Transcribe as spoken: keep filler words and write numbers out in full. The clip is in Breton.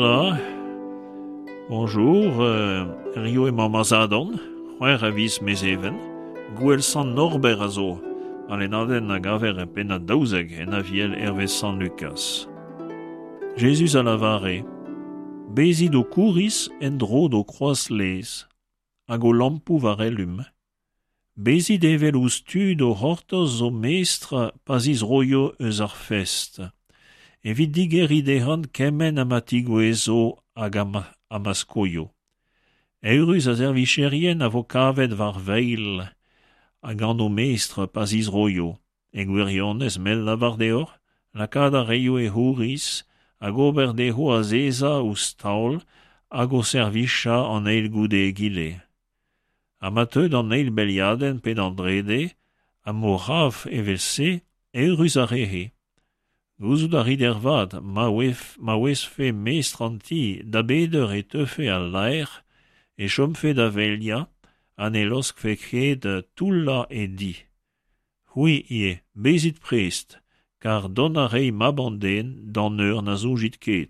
Hola. Bonjour, euh, Rio emañ ma zadorn, c'hwec'h a viz Mezheven, gouel Sant Norbert a zo, al lennadenn a gaver e pennad daouzek en Aviel hervez Sant Lukaz. Jezuz a lavare, Bezit ho kouriz en-dro d'ho kroaz-lez, hag ho lampoù war elum. Bezit evel ouzh tud o c'hortoz o mestr pa zizroio eus ar fest. Evit digeriñ dezhañ kement ha ma tigouezho hag ha ma skoio. Eürus ar servijerien a vo kavet war veilh ha gant o mestr pa zizroio. E gwirionez m'el lavar deoc'h, lakaat a raio e c'houriz hag ober dezho azezañ ouzh taol hag o servijañ an eil goude egile. Ha ma teu d'an eil beliadenn pe d'an drede, ha m'o c'hav evel-se, eürus ar re-se. Gouzout a rit ervat ma ma ouezfe mestr an ti da bet eur e teufe al laer, e chomfe da veliañ ha ne laoskfe ket toullañ e di. C'hwi ivez, bezit prest, kar dont a ray mab an den d'an eur na soñjit ket.